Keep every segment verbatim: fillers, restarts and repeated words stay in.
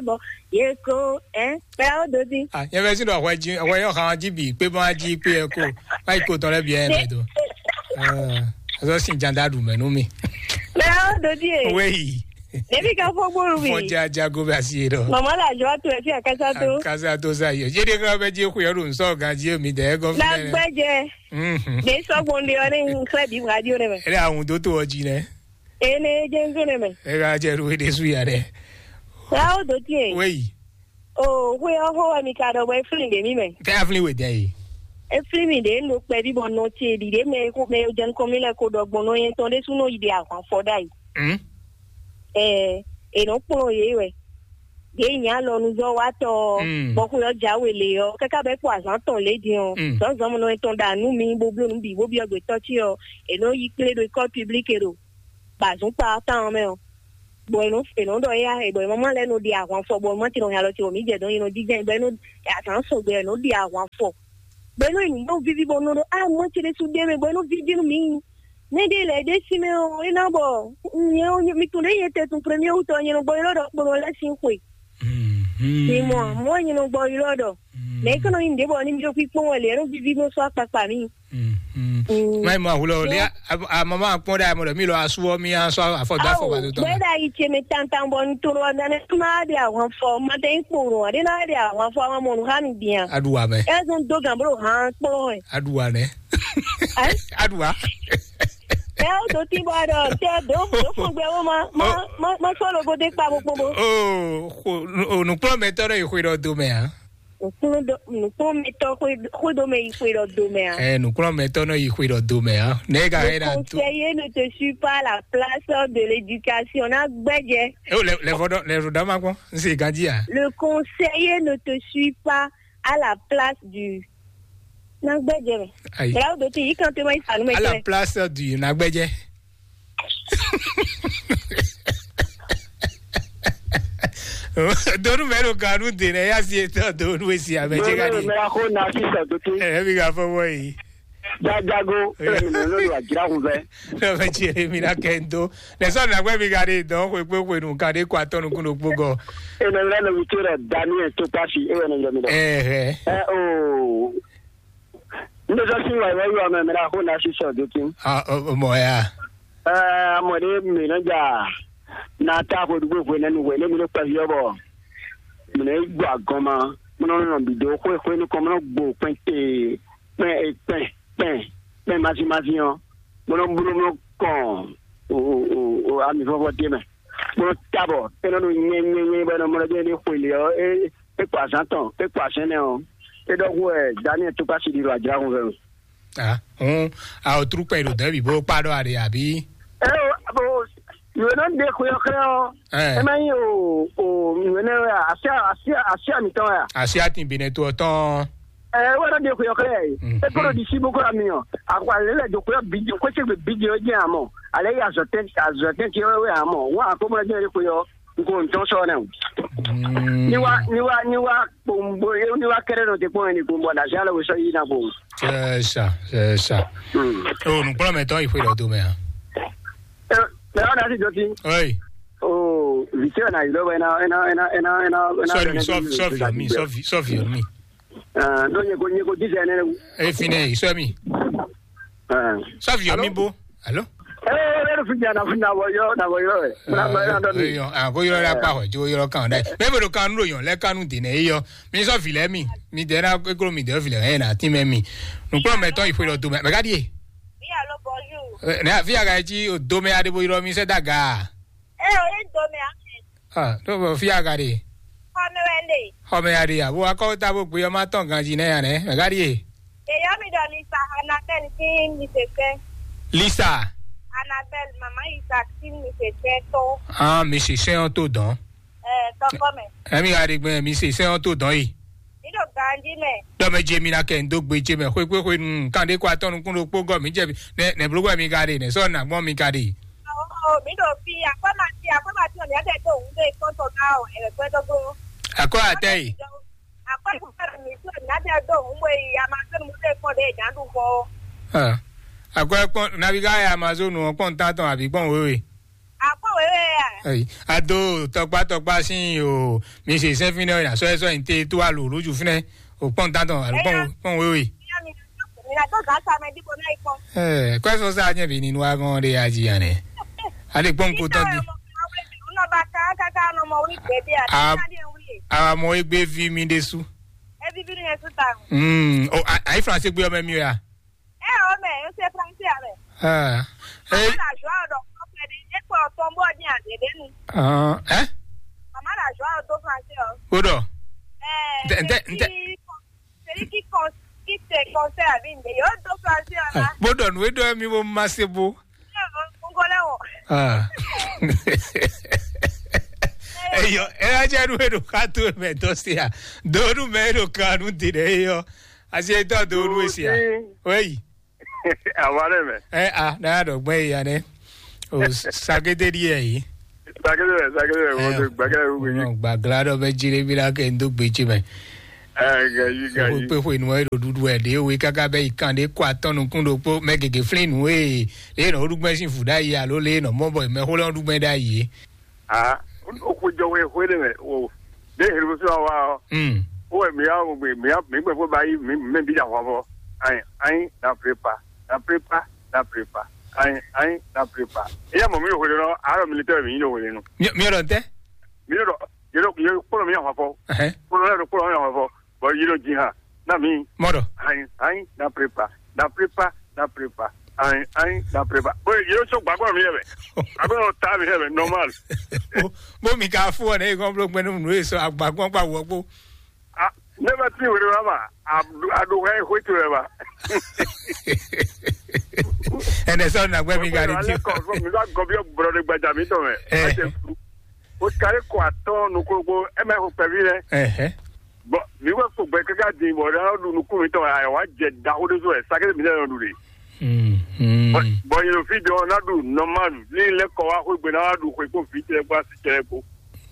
Bɔ ye ko, ɛ, kpɛ awo do di. Ah, nyɛ vɛ si ɖɔ hwɛ jí, hwɛ yɔ hàn jí bì, kpé bá jí kpé ɛ ko, má yi ko tɔn lɛ bì ɛ mɛ do. Ɛ, azɔ sin janda ɖu mɛ nú mi. Kpɛ awo do di e. Wéyi. Ɖevi ka fɔ gbóru mi. Fɔ ja jago bɛ asi yé ɖɔ. Mama la jɔ to ɛ fi akasa to. Akasa to sa yɔ. Yé de ka bɛ jí xuyɔ ɖo nsɔ gan jí mi dɛ gɔn fi. Na gbɛjɛ. Mhm. De sɔgbɔn de ɔ ne n xlɛ bi radio ne mɛ. Ele ahun do to ɔ jí nɛ. Ene jɛ n zone mɛ. Ega jɛ ɖo ɖe su ya ɖe. Yawo do tie. Wei. O, hwe ɔhɔ wɛ mi ka ɖɔ bɔ eflin ɖe mi mɛ. Kɛ aflin we dɛ yi. Eflin mi ɖe n ɖo kpɛvi bɔ nɔ tie ɖi ɖe mɛ ko mɛ jɛ nukɔn mi lɛ ko ɖɔ gbɔn nɔ yɛn tɔn ɖe su nɔ yi ɖe ahwan fɔ ɖa yi. Hmm. Ɛ, e nɔ kplɔn ye wɛ. Ɖe nya lɔ nu zɔ wa tɔ. Hmm. Bɔ xwe ɔ jawe le ɔ kaka bɛ kpɔ azan tɔn le din ɔ. Hmm. Zɔnzɔn mɔ nɔ yɛn tɔn ɖa nu mi bo blo nu bi bo bi ɔgbɛ tɔ ci ɔ. E nɔ yi kple ɖo école publique ɖo. Ba zɔn kpa tán mɛ ɔ. Bɔ e nɔ e nɔ ɖɔ ya e bɔ e mama lɛ nɔ ɖi ahwan fɔ bɔ ma ti nɔ ya lɔ ti bɔ mi jɛ dɔn e nɔ di jɛ bɔ e nɔ azan sɔgbe e nɔ ɖi ahwan fɔ. Bɔ e nɔ yi nɔ vivi bɔ nɔ ɖɔ a ma ti ɖe su ɖe mɛ bɔ e nɔ vivi nɔ mi. Ne ɖe lɛ ɖe si mɛ o e na bɔ nyɛ o mi tun ɖe yɛ tɛ tun premier wutɔ nyɛ nɔ gbɔ yi lɔ ɖɔ kpo nɔ lɛ si xwe. Mi mɔ mɔ nyɛ nɔ gbɔ yi lɔ ɖɔ. Mɛ e kɔnɔ yi nɖe bɔ ni mi ɖo kpikpɔn wɛ lɛ e nɔ vivi nɔ sɔ akpakpa mi. Mai ma hulo le a mama kpɔn da mo mi lo asu mi a so afɔ da fɔ ba to to. Gbɛda yi tse mi tantan bɔ n toro ɔdane ma de ahwan fɔ ma de n kporo ɔdɛ na de ahwan fɔ ma mɔnu ha mi dian. Aduwa mɛ. Ɛzun do gan bolo han kpɔn ɛ. Aduwa nɛ. Aduwa. Ɛ o do ti bɔ dɔ tɛ do do fɔgbɛ wo ma ma ma ma sɔ logo de kpa bo kpɔn bo. O nukplɔmɛtɔ ɖe yi xwe ɖɔ do mɛ a. Nukplɔmɛtɔ xwedome yi xwe ɖɔ do mɛ a? Ɛ nukplɔmɛtɔ nɔ yi xwe ɖɔ do mɛ a? Ne ka yɛ na to. Conseiller ne te suit pas la place de l'éducation na gbɛjɛ. E o lɛ lɛ fɔ dɔ lɛ fɔ dɔ ma kpɔn n se ganji a. Le conseiller ne te suit pas à la place du na gbɛjɛ mɛ. Ayi. Bla o do ti yi kan te ma yi sanu mɛ. À la place du na gbɛjɛ. Donu mɛ ɖo ganu de nɛ ya si etɔ donu esi amɛ dze ka di. Mɛ ko na si sɔ dote. Ɛ mi ka fɔ wɔ yi. Jajago ɛlɛ mi nɔ lɔ ajira kun fɛ. Lɔ fɛ tsi mi na kɛ n do. Lɛ sɔ na gbɛ mi ka de dɔn xwe kpe xwe nu ka de kɔ atɔ nukun ɖo kpo gɔ. Ene lɛ nɔ witsi rɛ Daniel to pasi e wɛ nɔ yɔ mi dɔ. Ɛhɛ. Ɛ o. N bɛ sɔ si wa yɔ yɔ mɛ mɛ na ko na si sɔ dote. Ah, o mɔ ya. Ɛɛ, mɔ ɖe mǐ nɔ ja na ta xwe ɖugbe hwenɛ́nu hwenɛ́nu ɖo kpɛví ɔ́ bɔ mǐ nɔ yi gbɔ agɔn ma, mɔ nɔ nɔ bǐ dó xwé xwé nukɔn, mɔ nɔ gbo kpɛn te kpɛn kpɛn kpɛn kpɛn mazin mazin ɔ́, mɔ nɔ bló mɔ nɔ kɔn o o o ami vɔvɔ dé mɛ, mɔ nɔ ta bɔ é nɔ ɖo nyɛ nyɛ nyɛ bɔ é nɔ mɔ nɔ jɛ ɖe xwe lě ɔ́ é é kpa azǎn tɔn é kpa azɛn nɛ ɔ́, é ɖɔ xú wɛ Daniel tó kpá si ɖi ɖo ajǎ hun vɛ. Ah, hun, a o trú kpɛ ɖo dɛ̌ bǐ bó kpá ɖɔ a ɖe àbí? Ɛ o abo yòó nɔ ɖe xwe ɔ́ xlɛ́ ɔ́. Ɛ má nyí o o yòó nɛ wɛ asi asi asi mǐtɔn wɛ a? Asi atin bǐ nɛ to ɔ́ tɔn. Ɛ wɛ nɔ ɖe xwe ɔ́ xlɛ́ ɛ. É kó ɖo ɖi sí bó kó ɖo ami ɔ. Àkó alẹ́ lɛ do xwe ɔ́ bǐ xwé cégbe bǐ jɛ ɔ́ jẹ́ àmọ́. Alẹ́ yí azɔ̌tɛn azɔ̌tɛn ce wɛ wɛ àmọ́. Wọ́n àkó mɔ jẹ́ xwe ɔ́. N ko n tɔn sɔ nɛ o. Ni wa ni wa ni wa kpombo ni wa kɛrɛ nɔ te kpɔn ni kpombo na sia lɛ wosɔ yi na kpombo. C'est ça, c'est ça. O nukplɔmɛtɔ yi xwe dɔ do mɛ a? Mɛ wa na si jɔ si. Oi. O vite na yi lɔ bɛ na na na na na na. Sɔ mi sɔ sɔ viɔ mi sɔ vi sɔ viɔ mi. Dɔ nye ko nye ko disɛ ne. E fi ne sɔ mi. Sɔ viɔ mi bo. Alo. Ee, ne fi nya na fi na wɔ yɔ na wɔ yɔ ɛ. Na wɔ yɔ dɔ mi. Yɔ a ko yɔ la kpa hɔ jo yɔ kan dɛ. Mɛ bɛ do kanu do yɔ lɛ kanu de nɛ yɔ. Mi sɔ vi lɛ mi. Mi dɛ na eklo mi dɛ vi lɛ ɛ na ti mɛ mi. Nukplɔ mɛ tɔ yi xwe dɔ do mɛ. Mɛ ka di ye. Oui, allô, bonjour. Ne fi aga ji o do mɛ ade bo yɔ mi sɛ daga. Ee, o ye do mɛ a. Ah, ɖo fi aga ɖe. Xɔmɛ wɛ le. Xɔmɛ ya ɖe ya. Bo akɔ ta bo gbe ɔma tɔn ganji nɛ ya nɛ. Mɛ ka di ye. Eyɔ́ mi ɖɔ Lisa Anabel sín mi se sɛ́. Lisa. Anabel mama Isaac sín mi se sɛ́ tó. Ah, mi se sɛ́ ɔ́ tó dɔn. Ɛ tɔkɔ mɛ. Ɛmi ka ɖe gbɛ mi se sɛ́ ɔ́ tó dɔn yi. Mi ɖo ganji mɛ. Dɔmɛ je mi na kɛ ndo gbe je mɛ xwekwe xwe nu kan ɖe kɔ atɔ nukun ɖo kpó gɔ mi jɛ nɛ nɛ blo wɛ mi ka ɖe nɛ sɔ na gbɔn mi ka ɖe. Ɔ mi ɖo fi akɔma ti akɔma ti ɔmi adɛ do òun ɖe kɔntɔ ná ɔ ɛgbɛ dɔgbɔ. Akɔ atɛ yi. Akɔma mi ti ɔmi adɛ do òun bɔ yi Amazon mo ɖe kɔn ɖe jan ɖu xɔ. Akɔ kpɔn nabi ka ya Amazon ɔ kpɔn tatɔn àbí kpɔn wewe. Akɔ Ayi, ado tɔkpa tɔkpa sin o, mi se sɛn fínɛ o, na sɔ́ ɛ sɔ́ yin te tó alo lójú fínɛ o, kpɔn tantɔn alo kpɔn kpɔn wéwé. Ɛ, kɔɛ sɔ sa nyɛ bi nínú agɔn ɖe aji yan nɛ. Ale kpɔn ko tɔn di. A, a mɔ egbe vi mi ɖe su. Mm, o, a, ayi France gbe ɔmɛ mi o ya. Ɛ o mɛ, o se France ya mɛ. Ah. Ɛ, la joie ɖɔ kɔfɛ ɖe, e kpɔ tɔn bɔ din a ɖe ɖe nu. Ah, ɛ? Mama la joie do France o. O ɖɔ. Ɛ, Ntɛ, ntɛ, ntɛ. Celui qui con-, qui te conseille à vie, yo do France là. Bó ɖɔ nǔ e ɖɔ mi bó ma se bó. Ngolɛ o. Ah. Eyɔ, ɛ wá jẹ́ nú e ɖo ká tó mɛ dɔ se a. Do nú mɛ e ɖo ká nú di ɖe eyɔ. Asi e tɔ do nú e se a. Wéyi. Awa ɖe mɛ. Ɛ a, na ɖɔ gbɛ yi ya nɛ. O sakete ɖi yɛ yi. Sakete mɛ, sakete mɛ, mo to gbɛkɛ wu gbe. Gbagla ɖɔ bɛ jire bi la kɛ ndo gbe ji mɛ. Ɛ, gayi, gayi. Kpe xwe nu e ɖo ɖuɖu ɛ ɖe we kaka bɛ yi kan ɖe kɔ atɔn nukun ɖokpo mɛ gege flin nu e le nɔ ɖu gbɛ sin fu ɖa yi alo le nɔ mɔ bɔ mɛ xo lɛ ɖu gbɛ ɖa yi. Ah, o xwe jɔ we xwe ɖe mɛ o. Ɖe helu sɔ wa ɔ. Hmm. O wɛ mi ya o mi mi ya mi gbɛ fo ba yi mi mi bi da hwa fɔ. Ayi, ayi, na prépa, na prépa, na prépa. Ayi, ayi, na prépa. Iya mɔ mi ɖo xwe ɖe nɔ arɔ militaire mi yi ɖo xwe ɖe nu. Mi mi ɖɔ tɛ. Mi ɖo ɖɔ yɛ ɖo yɛ kpɔlɔ mi ya hwa fɔ. Ɛhɛn. Kpɔlɔ yɛ ɖo kpɔlɔ mi ya hwa fɔ. Bɔ yi ɖo ji ha na mi. Mɔ ɖɔ. Ayi, ayi, na prépa, na prépa, na prépa. Ayi, ayi, na prépa. Bɔ yi ɖo so gbàgbọ́ mi yɛ mɛ. Agbẹ́ yɛ ta mi yɛ mɛ normal. Bó bó mi ka fún ọ ní kán bló gbẹ́nu nù èso àgbàgbọ́n pa wọ́ kpó. Ah, never see wele wa ma. Adu adu hɛ hwe to wa. Ɛnɛ sɔ na gbɛ mi gari ti. Alẹ́ kọ̀ fún mi bá gọ bí ọ̀gbọ̀rọ̀ ní gbajà mi tọ̀ mẹ́. Ɛ. Ẹ jẹ fún. O kari kọ atọ́ nukúrúgbó ẹ mẹ́ kó pẹ̀lú rẹ. Ɛhɛ. Bɔn mi wẹ́ kó gbẹ kíkà dín bọ̀ ẹ náà dun nukú mi tọ̀ ẹ wá jẹ dahó dé so ẹ sákẹ́ mi náà dun de. Mm, mm. Bɔn yẹn fi jọ náà dun nọ́mà ní ilé kọ wá kó gbẹ náà dun kó kó fi tẹ kó asi tẹ kó.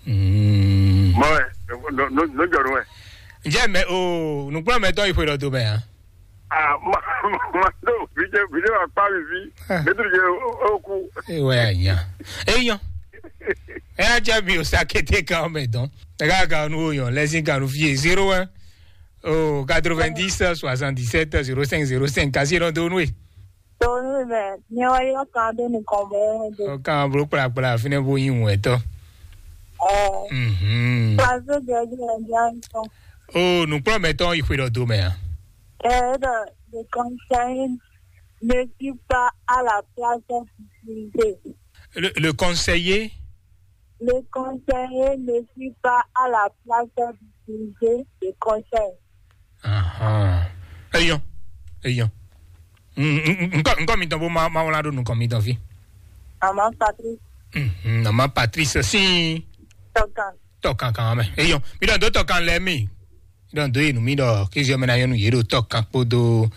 Mm. Mọ ẹ, no jọ nù ẹ. Ǹjẹ́ mẹ o nùgbọ́n mẹ́tọ́ ìpè lọ́dọ̀ mẹ́ hàn? Ah, ma ma do vijɛ vijɛ wa kpa mi vi. Ah. Mɛtiri jɛ o ku. Ewa ya nya. Eyan. Eya jẹ mi o sa kete kan o mɛ dɔn. Ega kan nu o yan lẹsin kan nu fie zéro un o quatre-vingt-dix soixante-dix-sept zéro cinq zéro cinq kasi lɔ do nu e. Tonu mɛ ni wa yɔ kan do ni kɔn bɛ de. O kan bro kpla kpla fine bo yin wɛ tɔ. Ɛ. Mhm. Paso jɛ jɛ jɛ jɛ. O nukplɔ mɛ tɔn yi xwe dɔ do mɛ a. Ɛ dɔ le conseiller ne suit pas à la place du sujet. Le, le conseiller. Le conseiller ne suit pas à la place du sujet de conseil. Ahan. Eyɔn. Eyɔn. Nkɔ nkɔ mi tɔn bó ma ma wla ɖo nukɔn mi tɔn fi. Maman Patrice. Mhm, maman Patrice sin. Tɔkan. Tɔkan kan mɛ. Eyɔn. Mi dɔn do tɔkan lɛ mi. Ɖɔ dó yi nú mì ɖɔ kéziɔ mɛ ná nyɔ́ nú yě ɖo tɔ́ kan kpódó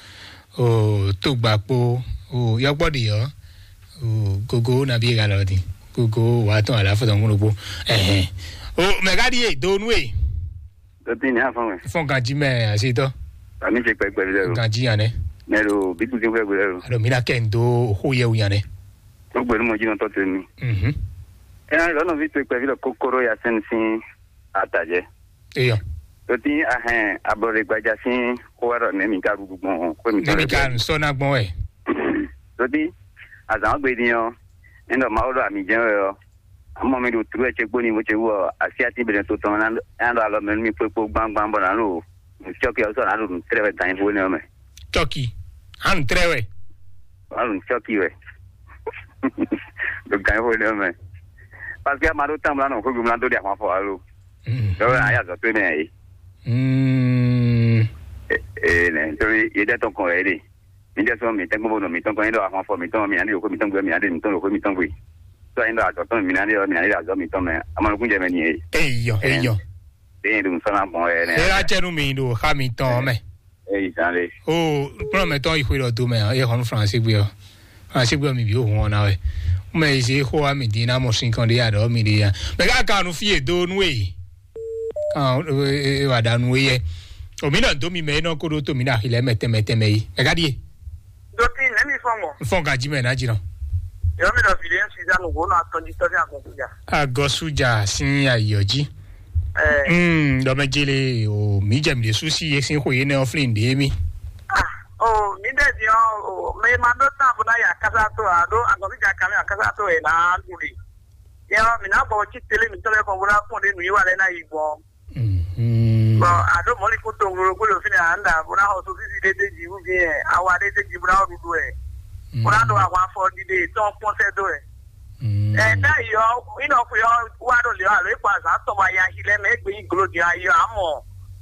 o tógba kpó o yɔ́gbɔ́ ɖi ɔ́ o gogo ná bí e galɔ din gogo wà á tɔn àlàáfíà tɔn kúndùn kpó. Ɛhɛn. O mɛ ká ɖi e do nú e. Dɔtí ní afɔn mɛ. Fɔn ganjí mɛ àṣetɔ. Àmì ṣe pẹpẹ lẹ o. Ganjí yàn nẹ. Mẹ lo bí kúndé fúlẹ̀ gbé lẹ o. Alo mi ná kẹ́ ń dó xó yẹ wú yàn nẹ. Ó gbẹ̀rú mọ jí nọ tọ́ tẹ mi. Mhm. Ẹ náà lọ́nà fi tó ìpẹ́ fi lọ kókóró ya sẹ́ni sí àtàjẹ́. Eyɔ. Lɔti ahɛn ablɔɖegbaja sín xó wɛ ɖɔ nɛ̌ mi ka ɖuɖu gbɔn xwé mitɔn Nɛmi lɛ́ɛ ka gbɔn. Nusɔ na gbɔn wɛ. Lɔti azǎn ɔ́ gbe din ɔ́, é ɖɔ Mawu ɖɔ ami jɛ́n wɛ ɔ́, amɔ mi ɖo tlú wɛ ce gbóni bó ce wú ɔ́, asyátín bɛnɛ to tɔn ná ɖo alɔ mɛ nú mi kpókpó gbámgbám bɔ nǎ ɖo nǔ cyɔ́ki ɔ́ sɔ́ nǎ ɖo nǔ tlɛ́ wɛ gǎnnyíxó énɛ́ ɔ́ mɛ. Cɔ́ki. Hanu trɛ́ wɛ. Nǎ ɖo nǔ cyɔ́ki wɛ ɖo gǎnnyíxó énɛ́ ɔ́ mɛ. Parce que ama ɖó tán mlá nɔ xwégbé mlá dó ɖi ahwan fɔ alo. Lɔwɛ ayé azɔ tó nɛ yìí. Ee nɛ nítorí yédɛ tɔn kɔn yɛ ɖe. Mi dɛ sɔn mi tɛgbɔn bɔ nɔ mi tɔn kɔn yín ɖɔ ahwan fɔ mi tɔn mi ani ɖo xwé mi tɔn gbé mi ani ɖo mi tɔn ɖo xwé mi tɔn gbé. Sɔ yín ɖɔ azɔ tɔn mi ani ɖɔ mi ani ɖo azɔ mi tɔn mɛ. Amanukun jɛ mɛ ni ye. Eyɔ eyɔ. Ɖe yín ɖo nusɔnna gbɔn yɛ nɛ. Ela jɛ nu mi ɖo xa mi tɔn mɛ. Eyi zan le. O kplɔn mɛ tɔn yi xwe ɖɔ do mɛ e xɔnu France gbé ɔ. Asi gbɔ mi bi o hun ɔna wɛ. Mɛ yi se xo ami di na mɔ sin kan de ya dɔ mi de ya. Mɛ ka kan nu fie do nu e. Kan e wa da nu e yɛ. O mi na do mi mɛ e nɔ ko do to mi na xi lɛ mɛ tɛmɛ tɛmɛ yi. Mɛ ka die. Doti nɛ mi fɔ mɔ. Fɔn ka ji mɛ na ji nɔ. Yɔmi ɖɔ viɖe Suzanne wo nɔ atɔn jí tɔ́ ní agɔn kújà. Agɔsújà sín ayǐ ɔ́ jí. Ɛ, Mm, ɖɔ mɛ jele o, mǐ jɛ mǐ ɖésú sí yé sín xwe énɛ́ ɔ́ flín ɖě mì. Ah, o, mi ɖe di ɔ, o, mɛ ma ɖo tán bó ná yà kásá tó a ɖó agɔn kújà kan mɛ kásá tó ɛ ná ɖu ɖe. Yɛ ɔ, mǐ ná bɔ cí télé mǐtɔn lɛ́ɛ kɔn bó ná kpɔn ɖé nǔ yi wa lɛ́ɛ ná yi gbɔn. Mhm. Bɔn a ɖo mɔ̌likún tongolo kó ɖo fínɛ́ a nɖa bó ná xɔ sosísi ɖé dé jǐ wú dín ɛ, awa ɖé dé jǐ bó ná xɔ ɖuɖu ɛ, bó ná ɖo ahwan afɔ ɖiɖe tɔn kpɔ́n sɛ́ dó ɛ. Mm. Ɛ, ɖ'ayǐ ɔ́, inɔ xwe ɔ́ wá ɖo lě ɔ́, alo é kpɔ azǎn tɔn bɔ aya xi lɛ́ɛ mɛ, é gbe nyí glo din ayɔ amɔ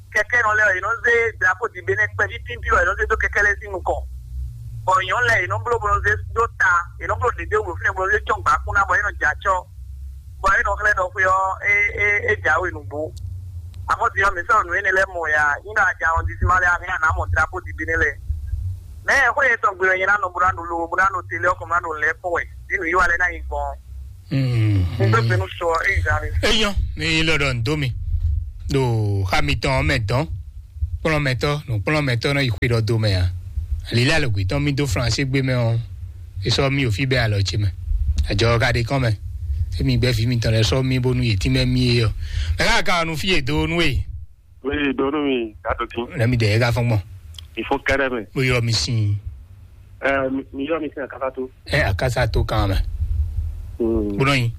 kɛkɛ́nɔ lɛ́ɛ ɔ́, yě nɔ zé drapo dǐbé nɛ́ kpɛví pínpín wɛ yě nɔ zé dó kɛkɛ́ lɛ́ɛ sín nukɔn. Bɔ nyɔ̌nu lɛ́ɛ yě nɔ bló bó nɔ zé dó ta, yě nɔ bló ɖěɖé wǔ fínɛ́ bó nɔ zé cɔ́n gbǎkún ná bɔ é nɔ jɛ acɔ́. Bɔ é nɔ xlɛ́ ɖɔ xwe ɔ́, é é é jǎwe nǔgbó. Amɔ̌ din ɔ́, mǐ sɔ́ nǔ énɛ́ lɛ́ɛ mɔ ya, nyí ɖɔ a jɛ arrondissement lɛ́ɛ a hɛn a nǎ mɔ drapo dǐbé nɛ́ lɛ́ɛ. Mɛ xwé yětɔn gbe wɛ nyɛ ná nɔ bó ná ɖo lo bó ná ɖo télé ɔ́ kɔn bó ná ɖo lɛ́ kpɔ́n wɛ, ɖí nǔ yi wa lɛ́ɛ ná nyi gbɔn. Gbégbénu sɔ é yi zan mi. Eyɔn mi lɔ ɖɔ ndo mi ɖo xa mitɔn mɛ dɔn kplɔn mɛtɔ nukplɔn mɛtɔ nɔ yi xwe ɖɔ do mɛ a? Alilɛ alɔgbe tɔn mi dó flanse gbé mɛ ɔ, e sɔ mi o fi bɛ alɔ ce mɛ. Ajɔ ka ɖe kɔn mɛ. Emi gbɛ vi mitɔn lɛ sɔ mi bónú yě tínmɛ mi é ɔ. Mɛ ká ka nu fi e do nu e. Oui, donu mi gato kin. Lɛ mi dɛ e ka fɔn gbɔn. Il faut kɛrɛ mɛ. Mo yɔ mi sin. Ɛ mi yɔ mi sin akasa to. Ɛ akasa to kan mɛ. Gbɔdɔ yin.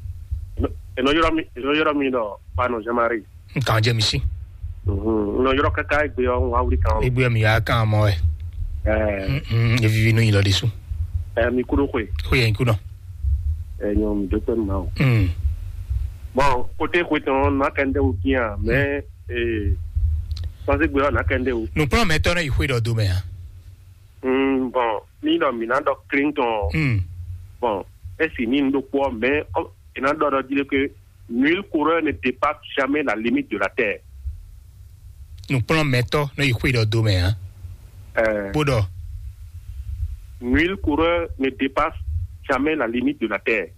Eno yɔrɔ mi eno yɔrɔ mi dɔ pano jamari. Nkan jɛ mi si. Eno yɔrɔ kaka egbe ɔ wa wuli kan. Egbe mi ya kan mɔ ɛ. Ɛ. Evivi nu yin lɔ de su. Ɛ mi kudo koe. Ko yɛ yin kudo. Ɛ nyɔ mi do pɛ ma o. Bon, kote koe tɔn na kɛ ndɛ o kiyan mais. Ee, sɔ́sígbe ɔ́ nǎ kɛ ndé wú. Nǔkplɔ́nmɛtɔ́ nɔ yi xwé ɖɔ do mɛ a? Mm, bon, ní ɖɔ mǐ ná ɖɔ Clinton. Mm. Bon, é sì ní un ɖokpó ɔ́, mais ɔ́, è nǎ ɖɔ ɖɔ jí ɖé que nul coureur ne dépasse jamais la limite de la terre. Nǔkplɔ́nmɛtɔ́ nɔ yi xwé ɖɔ do mɛ a? Ɛɛ. Bó ɖɔ. Nul coureur ne dépasse jamais la limite de la terre.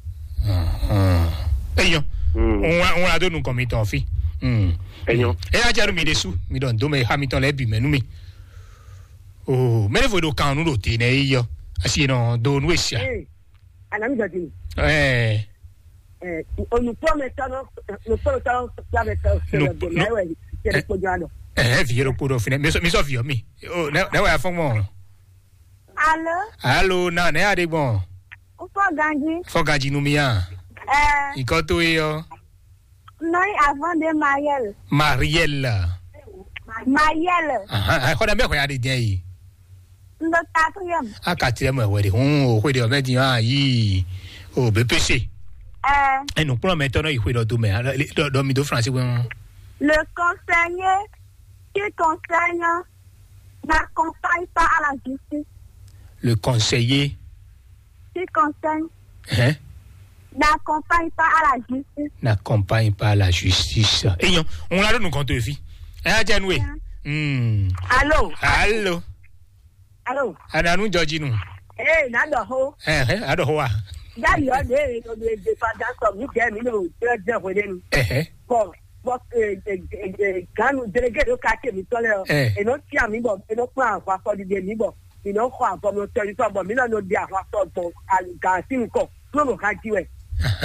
Eyɔn. Ŋun ŋun ado nukɔn mi tɔn fi. Eyɔn. Eya jɛ nu mi ɖe su mi ɖɔ ndo mɛ ha mi tɔn lɛ bi mɛ nu mi. O mɛ ne fo ɖo kan nu ɖo te nɛ yi yɔ asi nɔ do nu esia. Anami jɔ ti. Ɛɛ. Onukpɔmɛtɔ nɔ onukpɔmɛtɔ nɔ sɛbɛ tɔ sɛbɛ gbɔmɛ wɛ sɛbɛ kpɔjɔ alɔ. Ɛhɛn, vi yɛrɛ kpo ɖɔ finɛ mi sɔ vi yɔ mi. O ne ne wa fɔn gbɔn. Alo. Alo, na ne ya ɖe gbɔn. Fɔ ganji. Fɔ ganji nu mi ya. Ɛɛ. Ikɔ to ye yɔ. Nɔyi avant de Mariel. Mariel. Mariel. Xɔ ɖe mɛ xɔ ya ɖe jɛ yi. N ɖo quatrième. A quatrième wɛ de hun o xwe de ɔmɛ di hàn yi o B P C. Ɛɛ. Enu kplɔn mɛ tɔ nɔ yi xwe dɔ do mɛ dɔ mi do France wɛ. Le conseiller qui concerne n'accompagne pas à la justice. Le conseiller. Qui concerne. Hein? N'accompagne pas à la justice. N'accompagne pas à la justice. Eyɔn, on l'a donné compte de vie. Hein, Janoué? Hmm. Allô? Allô? Allô? Ananu Georgino. Eh, nado ho. Eh, eh, ado ho. Ya yo de no de de pa da so mi de mi no de de ho de ni. Eh, eh. Bon, bon, eh, eh, eh, eh, ganu délégué do quartier mi tole o. Eh. E no ti ami bon, e no pa wa ko de mi bon. Mi nɔ xɔ avɔ mi tɔ yi tɔ bɔ mi nɔ nɔ di ahwa tɔ bɔ gan si nukɔ kúrò nɔ ha ji wɛ.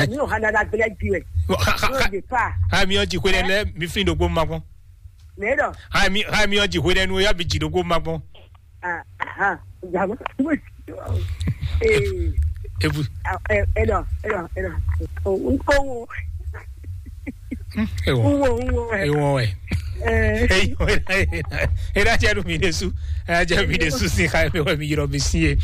Mi nɔ ha nana gblɛ ji wɛ. Kúrò de pa. Ha mi ɔ ji xwe lɛ mi fi ɖokpo ma kpɔn. Mɛ dɔ. Ha mi ha mi ɔ ji xwe lɛ nu ya bi ji ɖokpo ma kpɔn. Aha. Jama. Ee. Ebu. Ɛ ɛ dɔ ɛ dɔ ɛ dɔ. O n ko wo. Ewɔ. Ewɔ wɛ. Ewɔ wɛ. Ɛ. Ɛ da cɛ nu mi de su. Ɛ jɛ mi de su si xa mi wɛ mi yɔrɔ mi si ye.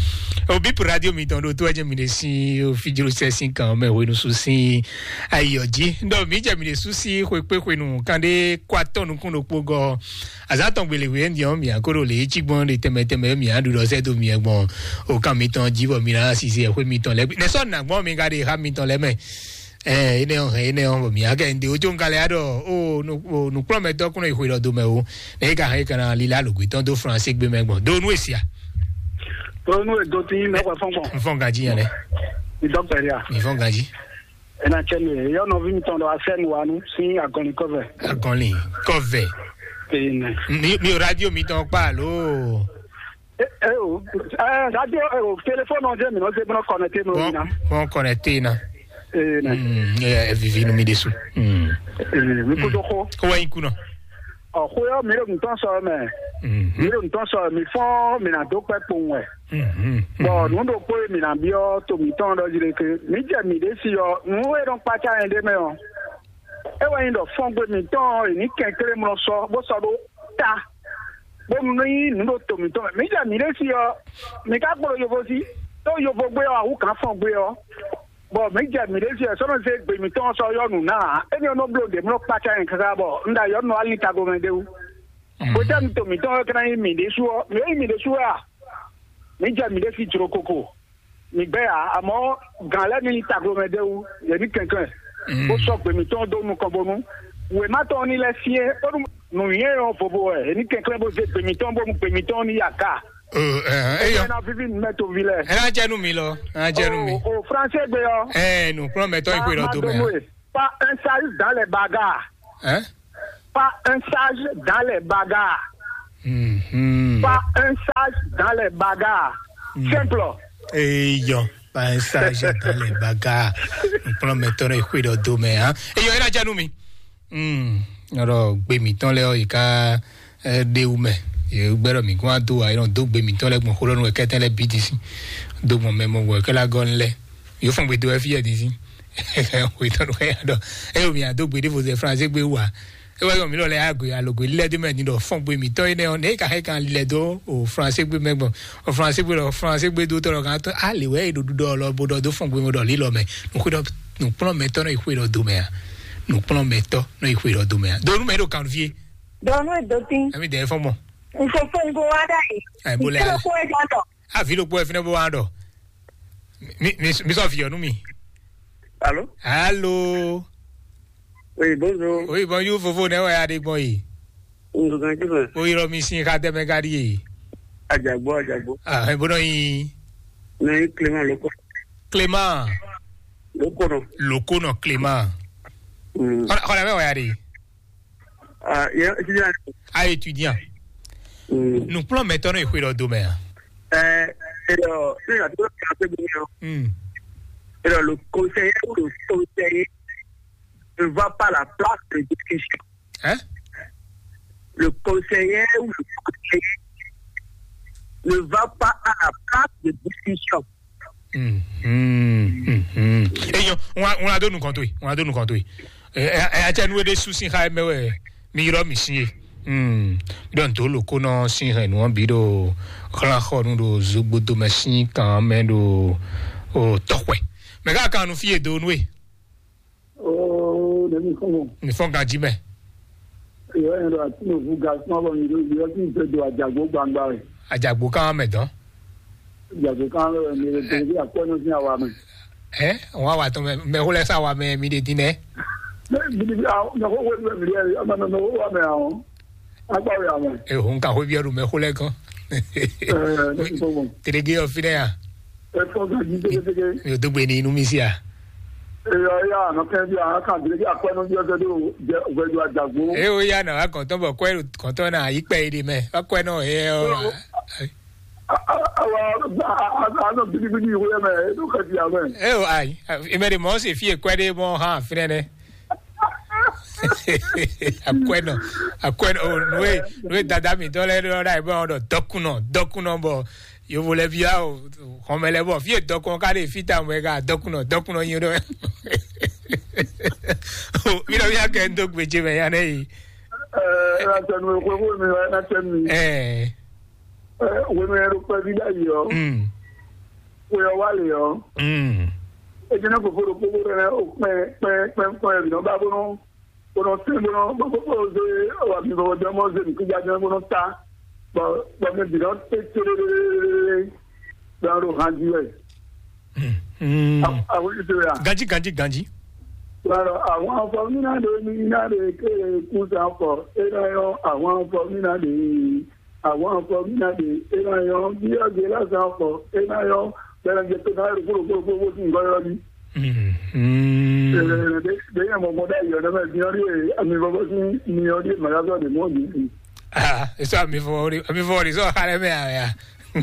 O bi radio mi tɔn do to ɛ jɛ mi de si o fi jiro sɛ si kan mɛ wenu su si. Ayi ɔ ji. Ndɔ mi jɛ mi de su si xwe kpe xwe nu kan de kɔ atɔ nukun ɖokpo gɔ. Azatɔn gbele we ndi ɔ mi akoro le etsi gbɔn de tɛmɛ tɛmɛ mi aɖu ɖɔ sɛ do mi gbɔn. O kan mi tɔn ji bɔ mi na sisi ɛ xwe mi tɔn lɛ. Nɛsɔ na gbɔn mi ka de ha mi tɔn lɛ mɛ. Ɛ ene ɔ hɛn ene ɔ mi akɛ nde ojo nkalɛ aɖɔ o nukplɔmɛtɔ kunɔ yi xwe lɔ do mɛ o ne ka hɛn kana lila logbe tɔn do France gbe mɛ gbɔn do nu esia. Tó nú èdò tí yín mẹ́kọ̀ọ́ fún gbọ̀n. N fɔn gaji yẹn lɛ. Ìdọ́gbẹ̀rẹ́ à. Mi fɔn gaji. Ena cɛ mi yɔ nɔvi mi tɔn dɔ asɛ nu wa nu sin agɔnli kɔvɛ. Agɔnli kɔvɛ. Ene. Mi mi radio mi tɔn kpa alo. Eh, eh, oh, eh, radio, eh, oh, téléphone, on dirait, mais non, c'est bon, connecté, non, Bon, non. Bon, connecté, non. Eh, non. Hmm, eh, eh, vivi, nous, mi dessous. Hmm. Eh, mi kó tó xó. Kó wá yín kú, non. Ɔ, xó yɔ, mi ɖo nǔtɔn sɔ mɛ. Hmm. Mi ɖo nǔtɔn sɔ, mi fɔn, mi ná dó kpɛ kpowun wɛ. Hmm. Bon, nǔ ɖokpó e mi ná byɔ́ to mǐtɔn ɖɔ jí ɖe ke, mi jɛ mi ɖě si ɔ, nǔ e nɔ kpácá nyɛ ɖé mɛ ɔ, é wɛ nyí ɖɔ fɔ́ngbé mǐtɔn ɔ́, è nǐ kɛnklé mlɔ sɔ, bó sɔ́ ɖó ta, bó nú nyí nǔ ɖo to mǐtɔn mɛ. Mǐ jɛ mǐ ɖé si ɔ́, mǐ ka kplɔ́n yovo sí, ɖó yovo gbé ɔ́, awǔ gǎn fɔ́ngbé ɔ́, bɔ mǐ jɛ mǐ ɖé si ɔ́, sɔ́ nɔ zé gbe mǐtɔn ɔ́ sɔ́ yɔ́ nǔ ná ǎ. Énɛ́ ɔ́ nɔ bló ɖě mlɔ́ kpácá nyɛ káká bɔ un ɖo ayɔ̌ nɔ alin tagbomɛ ɖé wú. Hwetɛ́nu to mǐtɔn ɔ́ ka ná nyí mǐ ɖésú ɔ́, mǐ e nyí mǐ ɖésú wɛ a? Mǐ jɛ mǐ ɖé sí jló koko. Mǐ gbɛ́ ǎ, amɔ̌ gǎn lɛ́ɛ ní nyí taglomɛ ɖé wú, yě ní kɛnklɛ́n, bó sɔ́ gbe mǐtɔn dó nukɔn bónú wěma tɔn ní lɛ́ syɛ́n, bónú nǔnywɛ́ ɔ́ vovo wɛ, yě ní kɛnklɛ́n bó zé gbe mǐtɔn bónú gbe mǐtɔn ní yi aga. Eyɔ, ná víví nǔ mɛ toví lɛ́ɛ. Ɛ ná jɛ nú mi lɔ, ɛ ná jɛ nú mi. O Fransé gbe ɔ́. Ɛ nǔkplɔ́nmɛtɔ́ yi xwe lɔ dó mɛ. Pas un sage dans les bagarres. Hein? Pas un sage dans les bagarres. Mhm. Pas un sage dans les bagarres. Simple. Eyɔ, pas un sage dans les bagarres. Nukplɔ́nmɛtɔ́ nɔ yi xwe ɖɔ dó mɛ, hã? Eyɔ, é ná jɛ nú mi. Hmm. Ɔlɔ gbe mǐtɔn lɛ ɔ yi ká, eh, ɖe wú mɛ. Yě gbɛ́ ɖɔ mǐ gún wá dó wa, é nɔ dó gbe mǐtɔn lɛ gbɔn xó lɔ nú wɛ kɛ́tɛ́ lɛ bǐ din sín. Dó gbɔn mɛ mɔ wɛ kɛ́ lá gɔ́ nú lɛ. Yǒ fɔn gbe dó wɛ fí yɛ din sín. Xwetɔ́ nɔ ya ɖɔ, eye mi ado gbe ɖěvo zɛ Fransé gbe wú a? E wɛ yɔ mi lɔ lɛ ya gbe alo gbe lɛ do mɛ ni ɖɔ fɔn gbe mi tɔ yi nɛ ɔ ne ka hɛ kan lɛ do o Fransé gbe mɛ gbɔn. O Fransé gbe lɔ Fransé gbe do tɔ lɔ kan tɔ a le wɛ e ɖo ɖuɖɔ lɔ bo ɖɔ do fɔn gbe mɛ ɖɔ li lɔ mɛ. Nukplɔn mɛ tɔ nɔ yi xwe ɖɔ do mɛ a? Nukplɔn mɛ tɔ nɔ yi xwe ɖɔ do mɛ a? Do nu mɛ ɖo kan fie. Dɔnu edotin. Emi dɛ fɔn mɔ. Nfɔfɔ nko wa da yi. Ɛ bo lɛ. Kí ló kó ẹ jọ dọ? Avi ɖokpó wɛ fínɛ́ bó wá ɖɔ. Mi, mi, mi sɔ viɔ nú mi. Allô? Allô? Oui, bonjour. Oui, bonjour, Fofo, ne wɛ a ɖe gbɔn yi? Ŋgɔgã jí mɛ. O yi lɔ mi sin xa tɛ mɛ ka ɖi ye? Ajagbo, ajagbo. Ah, e bo nɔ yi. Ne yi Clément Loko. Clément. Loko nɔ. Loko nɔ Clément. Mm. Xɔlɛ, xɔlɛ mɛ wɛ a ɖe? Ah, yeah, étudiant. Ah, étudiant. Mm. Nukplɔn mɛtɔn nɔ yi xwe ɖɔ do mɛ a? Eh, et alors, si la tour est un peu brillant. Hmm. Et alors, le conseiller ou le conseiller ne va pas à la place de discussion. Hein? Le conseiller ou le conseiller ne va pas à la place de discussion. Mhm, mhm. Eyo, ŋun ŋun ado nukɔn to yi, ŋun ado nukɔn to yi. Ɛ ɛ ɛ atsɛ nu ɖe su sin xa mɛ wɛ mi yrɔ mi sin ye. Hmm. Ɖɔ ntó loko nɔ sin hɛn nu bi ɖo xlán xɔ nu ɖo zogbodo mɛ sin kan mɛ ɖo o tɔxwɛ. Mɛ ká kan nu fi ye do nu e. Oh, ne mi fɔn. Mi fɔn ganji mɛ. Yɔ yɛn ɖo ati nɔ vu gasɔn bɔ mi ɖo yɔ ti fɛ do ajagbo gbangba wɛ. Ajagbo kan mɛ dɔn. Ajagbo kan mɛ wɛ mi ɖo tɛlɛ bi akpɔ nɔ sin awa mɛ. Ɛ, wọn awa tɔn mɛ mɛ xó lɛ sa wa mɛ mi ɖe din nɛ. Mɛ mi ɖe bi awo mɛ xó wɛ mi ɖe ama mɛ mɛ xó wa mɛ awo. Akpa wɛ awo. E ho nka xó bi ɔdu mɛ xó lɛ gɔn. Ɛ, ne mi fɔn. Tɛlɛ ge ɔ fi nɛ ya. Ɛ fɔn ganji tɛgɛtɛgɛ. Mi ò dó gbe ní inú mi sí a. Eyɔ ya nɔ kɛ bi a kan dile ki akpɛ nɔ bi ɔsɛ do jɛ vɛdu ajagbo. E o ya na wa kɔntɔn bɔ kɔɛ kɔntɔn na yi kpɛ yi de mɛ wa kɔɛ nɔ he ɔ. Awa anɔ bidibidi wo yɛ mɛ edo kɛ bi amɛ. E o ayi ime de mɔ se fie kɔɛ de mɔ ha finɛ nɛ. Akwɛ nɔ akwɛ nɔ o nue nue dada mi dɔ lɛ dɔ da yi bɔ dɔ dɔkunɔ dɔkunɔ bɔ yovo lɛ bia o xɔmɛ lɛ bɔ fie dɔkun ka de fita mɛ ka dɔkunɔ dɔkunɔ nyi ɖɔ. Mi ɖɔ mi akɛ ŋdo gbedze mɛ ya nɛ yi. Ɛ ɛ na tɛ nu ko ko mi ɛ na tɛ mi. Ɛ ɛ wenu yɛ ɖo kpɛvi ɖ'ayi ɔ. Mm. Ko yɔ wa le ɔ. Mm. Ejina ko fo ɖo kpokpo ɖe o kpɛ kpɛ kpɛ kpɛ yɛ bi nɔ ba bo nɔ. Bó nɔ tɛ́n bó nɔ bó bó bó zé wà mí bó dán mɔ zé nǔkúnjá dán bó nɔ tá. Bɔ bɔ mɛ bǐ nɔ té télélélélélé. Bɛ ɔ́ ɖo han jí wɛ. Àwọn ìṣe rà. Ganjí ganjí ganjí. Bɔn àwọn afɔmínà ló ní iná lè ké kú sàn fọ. É náà yọ àwọn afɔmínà lè àwọn afɔmínà lè é náà yọ bí ọ̀gẹ̀ lásán fọ. É náà yọ bẹ̀rẹ̀ jẹ pé náà rògbòrògbò gbogbo sí nǹkan yọ ni. Bẹ́ẹ̀ mọ̀ mọ́ dá ìyọ̀dọ́ mẹ́ bí wọ́n rí àmì bọ́bọ́ sí ni wọ́n rí màgá sọ̀rọ̀ mọ́ ní. Ah, eso ami fori ami fori so hare me aya. Ami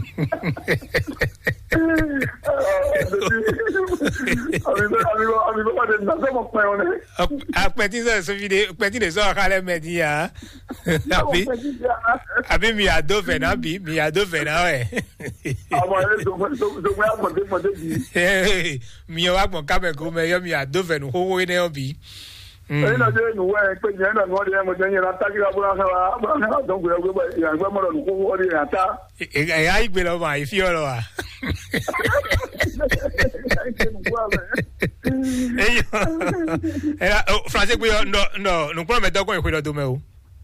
bɛ, ami bɛ, ami bɛ, wà á dé nà sɔmọ pẹ́ wọn dɛ. Akpɛtí sɛ sɔfide, akpɛtí de sɔ xalɛ mɛ di ya. Àbí, àbí mi àdó fɛ náà bí, mi àdó fɛ náà wɛ. Àwọn ẹ̀ lè dògbò, dògbò, dògbò, àgbọ̀dé, gbọ̀dé bí. Mi ò wá gbọ̀n kámẹ́ kó mɛ yọ mi àdó fɛ nù xóxó énɛ́ ɔ́ bí. Èyí náà jẹ́ ìnùwẹ́ pé yẹn náà ni wọ́n di ẹ̀ mọ̀ jẹ́ yẹn náà tákì abúlé náà wá, abúlé náà tó gbé ọgbẹ́ bọ̀, ìyá gbẹ́ mọ̀rọ̀ nù xóxó ọ́ di ẹ̀ yà tá. Ɛ, ɛ, ayi gbe lɔ ma, ayi fi ɔlɔ wa. Eyi, ɛ, o, français gbe yɔ, nɔ, nɔ, nukplɔn mɛ dɔgɔn yi xwe dɔ do mɛ o.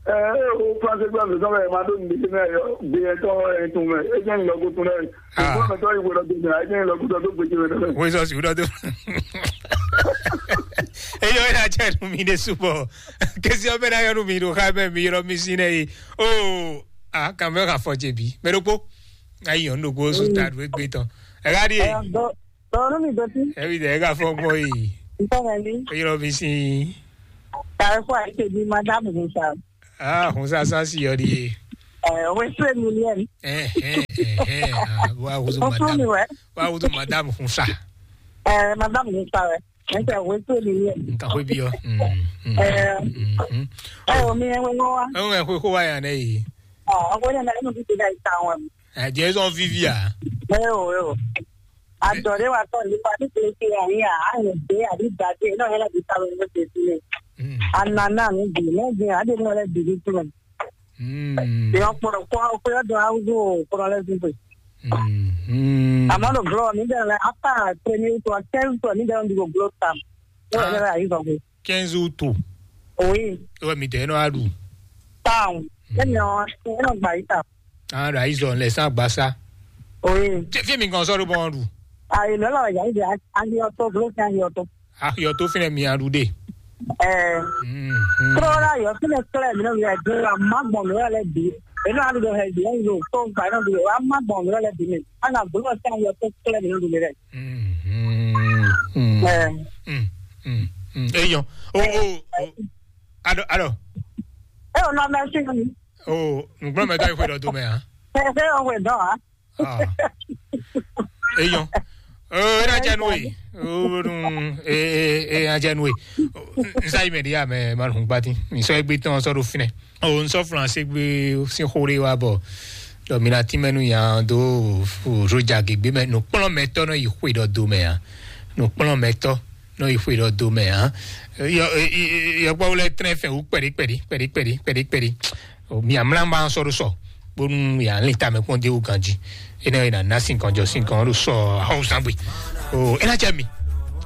Ɛ, o français gbe yɔ, nɔ, ma do nin de mɛ yɔ, gbe yɛ tɔ yɛ tun mɛ, e jɛ nin lɔ ko tun dɛ. Ah. Nukplɔn mɛ tɔ yi xwe dɔ do mɛ, e jɛ nin lɔ ko dɔ do gbe jɛ mɛ dɛ. Wo sɔ si wo dɔ do. Eyi o, e na jɛ nu mi de subɔ. Kesi ɔbɛ na yɔ nu mi do xa mɛ mi yɔrɔ mi si nɛ yi. O, a kan mɛ ka fɔ jɛ bi. Mɛ do kpo. Ayi yɔn ɖokpó sún ta ɖo égbé tɔn. Ɛ ká ɖíe. Ɛ, dɔ-, dɔwɔnu mi dɔtí. Ɛ bi dɛ ɛ ká fɔ gbɔ yi. Ntɔmɛ mi. Eyɔrɔ mi si. Tàbí fún àyíké bí madame Hunsa. Ah, Hunsa san si yɔ ɖíe. Ɛ, wesú Emilienne. Ɛ ɛ ɛ ɛ. Wa wuzu madame. Wa wuzu madame Hunsa. Ɛ, madame Hunsa wɛ. Ɛ tɛ wesú Emilienne. Nka xwe bi yɔ. Ɛ, ɛ, o mi ɛ wɛ wá. Ɛ wɛ xwe xo wa yan ne yi. Ɔ, ɔkọ yẹn náà, ẹnu títí náà ìta wọn. Ẹ jẹ́ sọ fífi à. Ẹ o, ẹ o. Àjọ̀dé wa tọ̀ nípa títí ṣe àyè àyè dé àbí dàdé náà yẹn láti sáré ló ṣe sílẹ̀. Ànànà mi bì lẹ́gbẹ̀ẹ́ àdé náà lẹ́ bì ní sílẹ̀. Ìyá ọ̀pọ̀lọpọ̀ ọ̀pọ̀ ọdún arúgbó ọ̀pọ̀lọpọ̀ lẹ́sìn pé. Àmọ́ ló gbọ́ mi bẹ̀rẹ̀ lẹ́ apá premier tour, quinze tour mi bẹ̀rẹ̀ ń di gbogbo tam. Ó yẹ lẹ́rẹ́ àyè sọ pé. Quinze août. Oui. Wɛ mi tɛ nɔ aɖu. Town. Emi ɔ, eno gba yi ta. Aɖu ayi zɔn lɛ san gba sa. Oui. Fi mi kan sɔrɔ bɔn ɖu. Ayi lɔ la ya yi de ayi ɔtɔ blo fi ayi ɔtɔ. Ayi ɔtɔ fi nɛ mi aɖu de. Ɛ. Kúrò la yɔ fi nɛ kílẹ̀ mi nɔ yɛ dé la ma gbɔn mi lɛ bi. Eno aɖu dɔ hɛ bi ɛyi lo tó gba nɔ bi wa ma gbɔn mi lɛ bi mi. Ana blo sa yɔ tó kílẹ̀ mi nɔ bi mi lɛ. Eyɔn. O o o. Alo alo. E o nɔ mɛ si mi. O nùgbọ́n mɛ dɔ ìwé dɔ do mɛ a. Ẹ ṣe o wẹ̀ dán a. Eyɔn. O ena jẹ nu e. O nu e e ena jẹ nu e. Nsa yi mɛ di ya mɛ ma nu gbati. Nsọ egbe tɔn sɔ do finɛ. O nsɔ flan se gbe sin xo ɖe wa bɔ. Dɔ mi na tínmɛ nú nya dó roja gěgbé mɛ nǔkplɔ́nmɛtɔ́ nɔ yi xwe ɖɔ do mɛ ǎ. Nǔkplɔ́nmɛtɔ́ nɔ yi xwe ɖɔ do mɛ ǎ. Yɔkpɔ́wú lɛ́ɛ tlɛ́n fɛn wú kpɛɖí kpɛɖí kpɛɖí kpɛɖí kpɛɖí kpɛɖí. Mi amlá ma sɔ́ ɖó sɔ bónú yà lin tamɛ kpɔ́n dé wú ganjí. Énɛ́ ɔ́, è nǎ ná sin kan jɔ sin kan ɖo sɔ axɔ́wúsángbé. O é ná jɛ mi.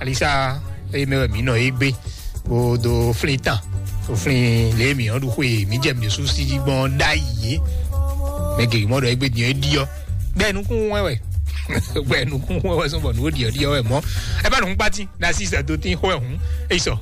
Alisa eye mɛ wɛ mǐ nɔ é gbé. Bó dó flín tán, bó flín lě mǐ ɔ́ ɖu xwe mǐ jɛ mǐ ɖésú sí jí gbɔn ɖ'ayǐ é. Mɛ gěgé mɔ ɖɔ égbé din é ɖiɔ. Gbɛ nukún wɛ wɛ. Gbɛ nukún wɛ wɛ sɔn bɔ nǔ ó ɖiɔ ɖiɔ wɛ mɔ. Ɛ bá nukún kpátín, ɖ'así sɛ dó tín xó ɛ hǔn. É yi sɔ.